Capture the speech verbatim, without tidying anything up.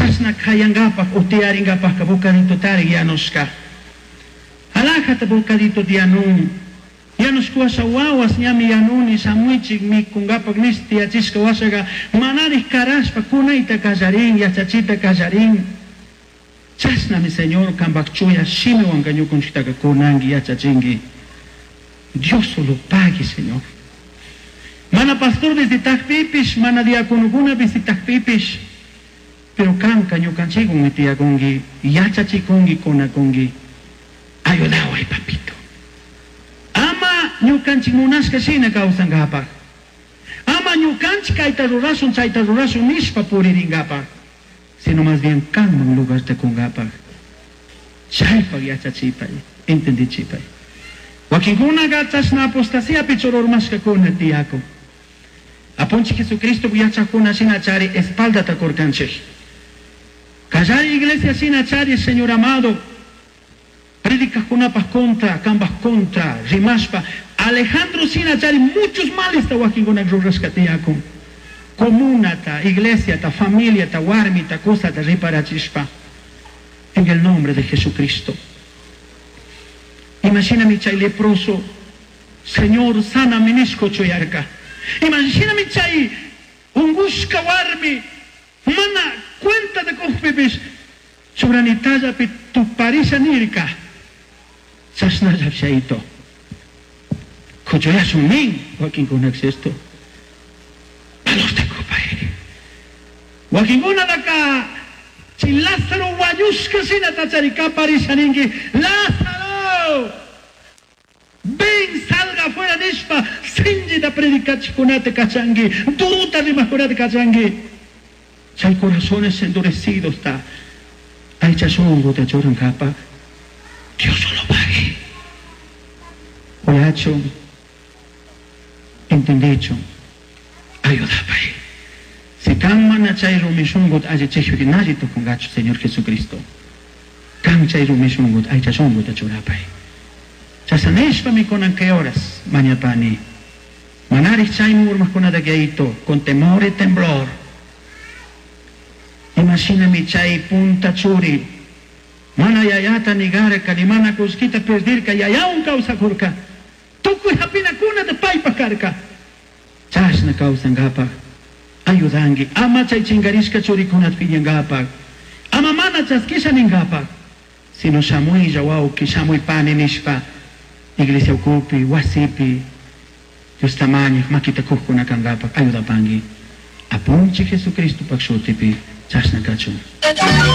Chashna kayangapak o tiyaringapakka bocaditotari yanushka. Alajata bocadito yanun. Yanushka wawas ñami yanuni shamuichik mikungapak nish tiyachishka washaga manarij karashpa kunayta kallarin yachachita kallarin. Chashnami Señor kambak chuya shimiwanka ñukunchiktaka kunanki yachachinki. Dios solo pague, Señor. Mana pastor visitakpipish, mana diaconokuna visitakpipish, pero kanka ñukanchikwan tiyakunki, yachachikunki, kunakunki. Ayudaway, papito. Ama ñukanchik munashka shina kawsankapak. Ama ñukanchik kayta rurashun, chayta rurashun nishpa puririnkapak. Sino más bien kanman lugarta kunkapak. Chaypak yachachipay, entendichipay. Wakinkunaqa chashna apostasiapi chururmashkakuna tiyakun. Apunchik Jesucristo yachakuna shina chari espaldata kurkanchik. Kallari iglesia shina chari, Señor amado, predicajkunapaj contra, kambaj contra, rimashpa, Alejandro shina chari muchos males wakinkuna rurashka tiyakun. Comunata, iglesiata, familiata, warmita, cosata riparachishpa. En el nombre de Jesucristo. Imagíname chay leproso, Señor, sana nishko chuyarka. Imagíname chay ungushka warmi, mana cuenta de kujpipish, churanillapi tuparisha nirka. Chashnalla chayto. Kuchuyashun nin, wakinkuna esto. Valorta kupay. Wakinkunataka chay Lázaro wañushka shina tachari kaparisha ninki, Lázaro! Ven, salga afuera nishpa, sinchita predicachikunata kachanki, duruta rimakunata kachanki. Chay corazones endurecidos ta, aycha shunguta churankapa, Dios solo pague. Uyachun, entendichun, ayudapay. Si kan mana chay rumi shungut allichishpiki nalli tukungachu, Señor Jesucristo. Kan chay rumi shungut aycha shunguta churapay. Chashanishpa mikunan kay horas, mañapani. Manarij chayman urmajkunata kayto, con temor y temblor. Imashinami chay punta churi. Mana yayata nigarka, ni mana kullkita perdirka, yayawan kawsakurka. Tukuy hapinakunata paypaj karka. Chashna kawsankapak. Ayudanki, ama chay chinkarishka churikunata piñankapak. Ama mana chaskisha ninkapak. Sino shamuylla wawki, shamuy pani nishpa. Iglesia ukupi, wasipi, Diosta mañaj, makita kujkuna kankapak, ayudapanki. Apunchik Jesucristo pak shutipi, chashna kachun.